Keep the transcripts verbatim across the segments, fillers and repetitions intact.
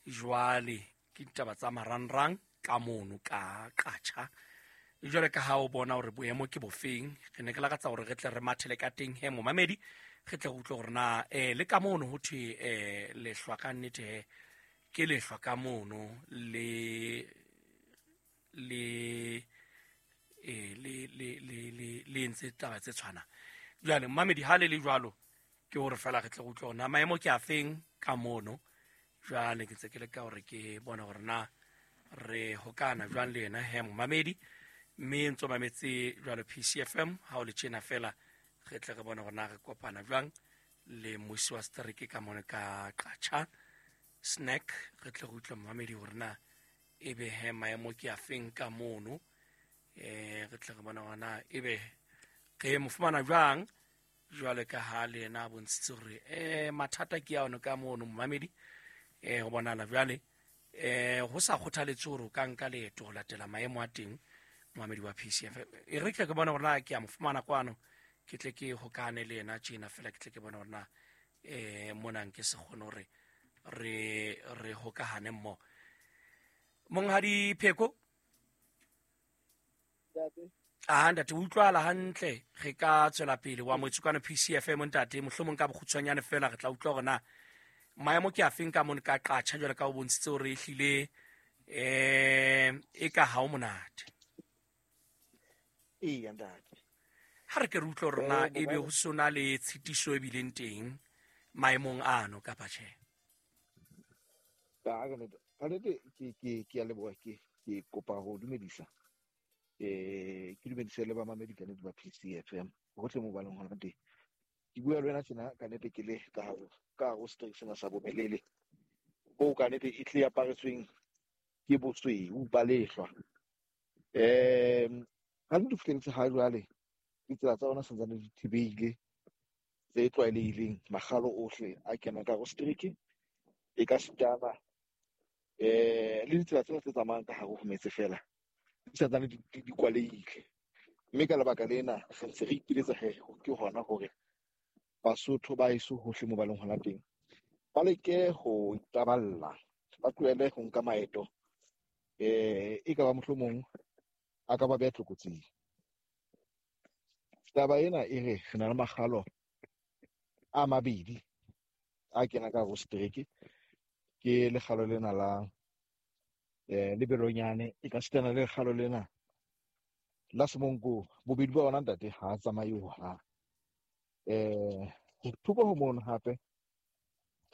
Jwale ke ditaba tsa marangrang ka mono ka Qacha. Jwale ka ha o bona hore boemo ke bofeng, re ne ke lakatsa hore re tle re mathele ka teng he momamedi, re tle re utlwe hore na eh le ka mono ho thwe eh lehlwa ka nnete he ke lehlwa ka mono le le eh le le le le le entse taba tse tshwanang. Jwale momamedi ha le le jwalo ke hore fela re tle re utlwe hore na maemo ke afeng ka mono. Jwale ke ntse ke leka hore ke bone hore na re hokana jwang le yena he momamedi, mme ntso mametse jwalo P C F M ha o le tjena fela re tle re bone hore na re kopana jwang le mmusi wa setereke ka mono ka Qacha Snack, re tle re utlwe momamedi hore na ebe he maemo ke afeng ka mono. Eh re tle re bone hore na ebe re mo fumana jwang jwale ka ha le yena a bontshitse hore eh mathata ke a ona ka mono momamedi. Eh ho bonahala jwale eh ho sa kgothaletse hore o ka nka leeto ho latela maemo a teng momamedi wa P C F. E re tle ke bone hore na ke a mo fumana kwano, ke tle ke hokane le yena tjena fela, ke tle ke bone hore na eh mona nke se kgone hore re re hokahane mmoho. Monghadi Pheko, ah ntate, utlwala hantle, re ka tswela pele wa motswe kwano P C F M ntate, mohlomong ka bokgutshwanyane fela re tla utlwa hore na maemo ke afeng ka mono ka Qacha jwale ka o bontshitse hore ehlile eh e ka ha o monate. Eya ntate, ha re ke re utlwe hore na ebe ho sona le tshitiso e bileng teng maemong ano kapa tjhe. Ka ka nnete ke ke ke a leboha, ke ke kopa ho dumedisa eh ke dumedise le ba mamedi ka nnete ba P C F M hohle mo ba leng hona teng. Ke bua le wena tjena ka nnete ke le ka ka ho setereke sena sa Bomelele bo ka nnete e tle aparetsweng ke bosweu ba lehlwa. Em ha ntse fihletse ha jwale ditsela tsa rona santsane di thibehile tse tlwaelehileng, makgalo ohle a kenang ka ho setereke e ka sitana eh le ditsela tsena tse tsamayang ka hare ho metse fela di santsane di di kwalehile, mme ka lebaka lena re ntse re ipiletsa he ke hona hore Basotho ba eso hohle mo ba leng hona teng ba leke ho itaballa, ba tlohele ho nka maeto eh e ka ba mohlomong a ka ba beha tlokotsing. Taba ena e re re na le makgalo a mabedi a kena ka ho setereke, ke lekgalo lena la eh lebelonyane e ka sitana le lekgalo lena la Semonko. Bobedi ba ona ntate ha a tsamaye hohang. Eh thoko ho mono hape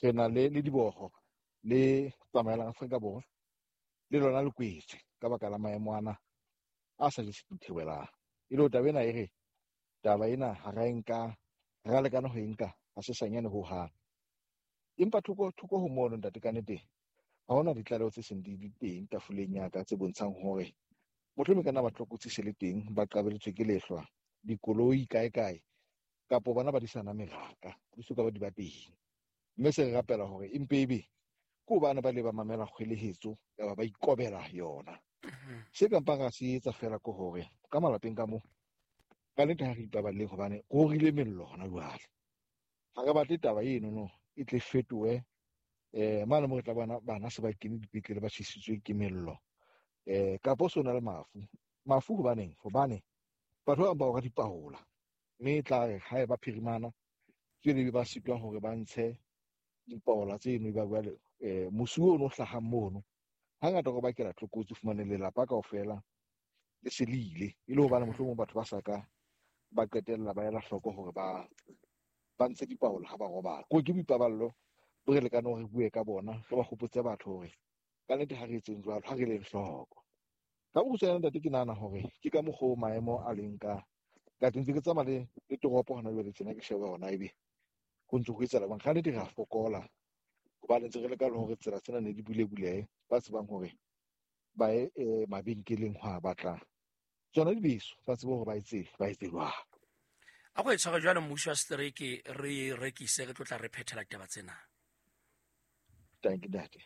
re na le le diboho le tsamaelang Afrika Borwa le lona le kwetse ka baka la maemo ana a sa jeseng ditheohelang. E le taba ena e re taba ena ha ra e nka, ra lekana ho e nka ha se sanyane hohang. Empa thoko thoko ho mono ntate ka nnete ha hona ditlaleho tse seng di di teng tafoleng ya ka tse bontshang hore mohlomong ka nna ba tlokotsi se le teng, ba qabeletswe ke lehlwa, dikoloi kae kae kapo bana ba disana meraka di soka ba di ba teng. Mme se re rapela hore empe ebe ke hobane ba le ba mamela kgwelehetso kapa ba ikobela yona. Se ka mpang ra se etsa fela ke hore ka malapeng ka mo ka nnete ha re ipaballeng hobane go rile mello hona jwale. Ha re batle taba eno no e tle fetohe eh mane mo re tla bona bana se ba kene dipetlele ba tjhesitswe ke mello eh kapo so na le mafu. Mafu hobaneng? Hobane batho ba bang ba ora dipaola, mme e tla re ha e ba phirimana tswele ba sitwa hore ba ntshe dipaola tseno ba jwale eh mosi ono o hlahang mono hangata go bakela tlokotsi, fumane lelapa kaofela le se le ile e le hobane mohlomong batho ba sa ka ba qetella ba ela hloko hore ba ba ntshe dipaola ha ba robala. Ko ke boipaballo bo re lekane hore re bue ka bona, re ba hopotse batho hore ka nnete ha re etseng jwalo, ha re leng hloko. Ka bokgutshwanyane ntate ke nahana hore ke ka mokgwa o maemo a leng ka ka teng. Ntse ke tsamaya le le toropo hona jwale tjena ke sheba hona ebe ho ntse ho etsahala jwang. Ka nnete re a fokola hobane ntse re leka le hore tsela tsena ne di bule bulehe, ba tsebang hore ba ye eh, mabenkeleng ho a batla tsona dibeso, ba tsebe hore ba etse ba etse jwang. A go e tshware jwale mmuso wa setereke re rekise, re tlo tla re phethela ditaba tsena. Thank you ntate.